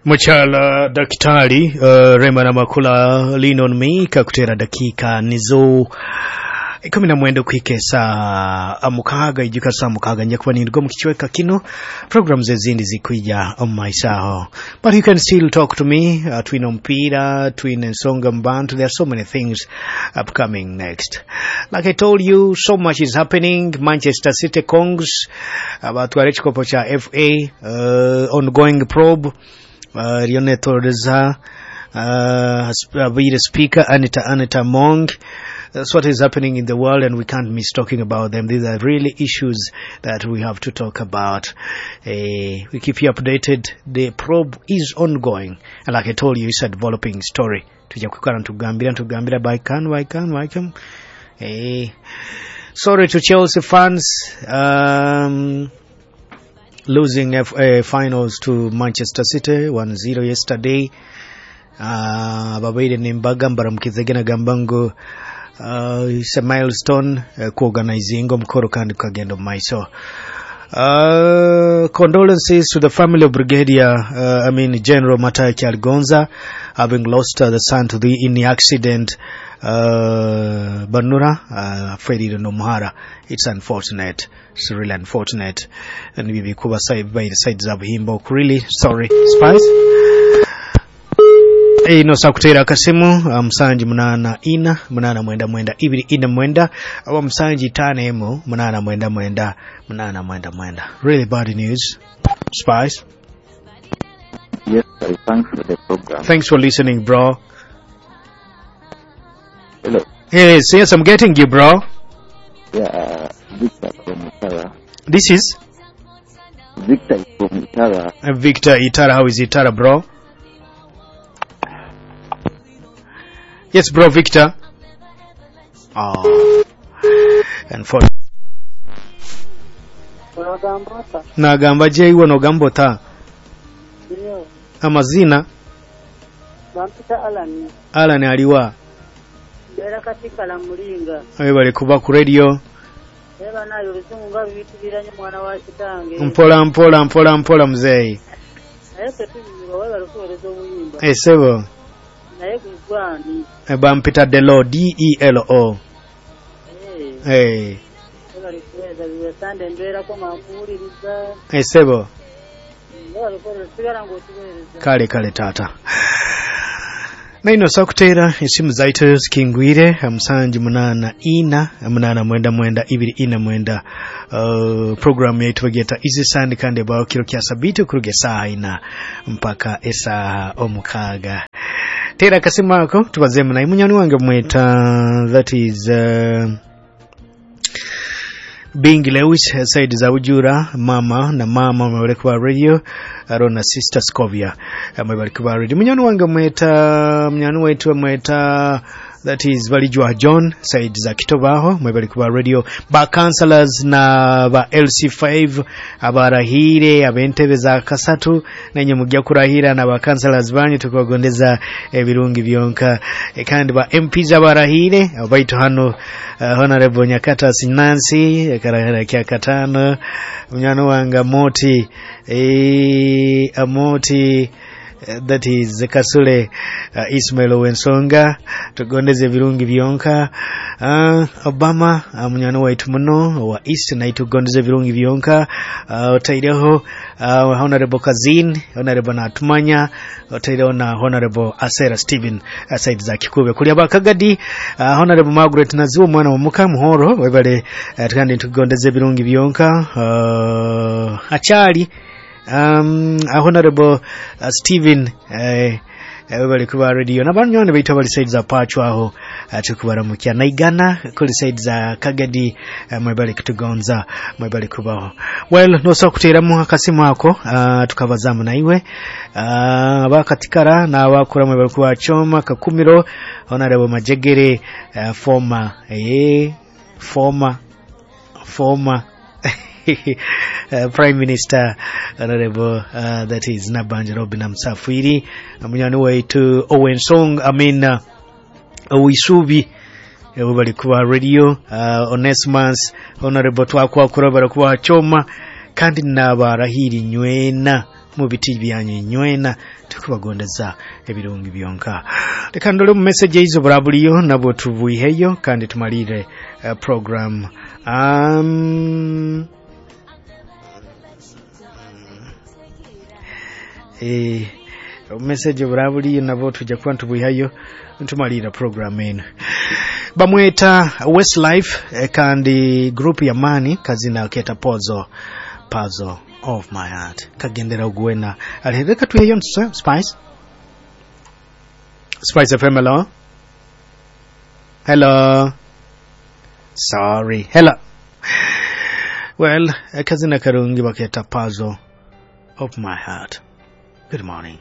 Mukyala Dakitali Rema Namakula, Lean on Me, kakutera dakika nizo 19 kuhika esaa 6. Ijuka saa 6 nja kuba nindugwa mu kicweka kino, programs ezindi zikwija omu maiso aho, but you can still talk to me. Twine omupiira, twine ensonga mu bantu. There are so many things upcoming next. Like I told you, so much is happening. Manchester City Kongs batwara ekikopo kya FA, ongoing probe eriyo netoreza abaire Speaker Anita Among. That's what is happening in the world, and we can't miss talking about them. These are really issues that we have to talk about. We keep you updated. The probe is ongoing, and like I told you, it's a developing story. Tujja kwikara ntugambira ntugambira by can by can by can. Sorry to Chelsea fans, losing FA finals to Manchester City 1-0 yesterday. Babaire nembaga mbaramukizege nagamba ngu it's a milestone kuorganizinga omukoro kandi kukagenda omu maiso. Condolences to the family of Brigadier, I mean General Matai Kyaligonza, having lost the son to the in the accident. Banura, Freddy Nomuhara. It's unfortunate. It's really unfortunate. And we kuba side by the sides of him. Really sorry. Spice. Ino sakutera akasimu 784 899 249 aba 751 899 899. Really bad news. Spice. Yes, sir. Thanks for the program. Thanks for listening, bro. Hello. Yes, I'm getting you, bro. Yeah, Victor from Itara. This is Victor from Itara. Victor Itara. How is Itara, bro? Yes, bro, Victor. Oh, and for Unagamba ota? Nagamba jeiwe nogamba ota. Ndiyo. Amazina? Bampita Alan. Alan aliwa? Mbeera Katikala Mulinga. Webale kuba ku radio. Eba nayo oluzungu nga luyitibira nnyo mwana wa kitange. Mpola mpola mpola mpola muzeeyi. Naye ffe tunyumirwa, webale okuweereza obuyimba. Esebo. Naye gwe gwani? Bampita Delo, D-E-L-O. Eh, Eh, webale kuweereza buli Sande mbeerako nga nkuwuliriza. Esebo. Webale kuweereza, sigala ng'otuweereza. Kale kale taata. Naino sakuteera esimu zaitu zikingwire 784 899 249. Programu yaitu bageta Easy Sunday kandi ebaho kiro kya sabiti okuruga esaaha 4 mpaka esaaha 6. Teera akasimu ako tubazeemu naye munywani wange mweta, that is Bing Lewis Said za Ujura, mama na mama mwebale kuba radio Arona Sister Scovia mwebale kuba radio. Munywani wange mweta, munywani wetu mweta, that is Balijwa John Said za Kitobaho, mwebale kuba radio. Ba councillors na ba LC5 abarahire abentebe za kasatu nenye mujja kurahira na ba councillors banyu tukabagondeza ebirungi byonka. Kandi ba MPs abarahire baitu hano, Honorable Nyakata Nancy karahira kya katano, munywani wange Amoti, Amoti, that is Kasule Ismail Wensonga, tugondeze ebirungi byonka. Obama, munywani waitu muno wa East naye tugondeze ebirungi byonka. Otaireho Honorable Kazin, Honorable Natumanya, otaireho na Honorable Asera Steven, side za Kikube kuli abakagadi, Honorable Margaret Naziwa mwana wa muka muhoro webale, kandi tugondeze ebirungi byonka. Achali Honorable Steven, bali kuba radio na banywani baitu abali side za Pacho aho, tukubaramukya naigana kuli side za Kagadi, mwebali kutugonza, mwebali kubaho. Well, nosobola kuteeramu akasimu ako, tukabazamu naiwe. Abakatikara n'abakura mwebali kuba Choma Kakumiro, Honorable Majegere, former former Prime Minister Honorable, that is Nabanja Robin Msafiri, munywani waitu Owen Song, I mean Owisubi bali kuba radio, Onesimus Honorable Twakwakura bali kuba Choma kandi nabarahiri nywena mu biti byanyu nywena. Tukubagondeza ebirungi byonka. Reka ndole mu message eizo burabuliyo nabwo tubwiheyo kandi tumalire program. Message burabuliyo nabwo tujja kuba ntubwihayo ntumalira program eno. Bamweta Westlife, kandi group ya mani kazina keta Pozo, Puzzle of My Heart. Kagendera ogwena alireka tuheyo. Spice, Spice FM, hello, hello, sorry, hello. Well, kazina karungi baketa Puzzle of My Heart. Good morning.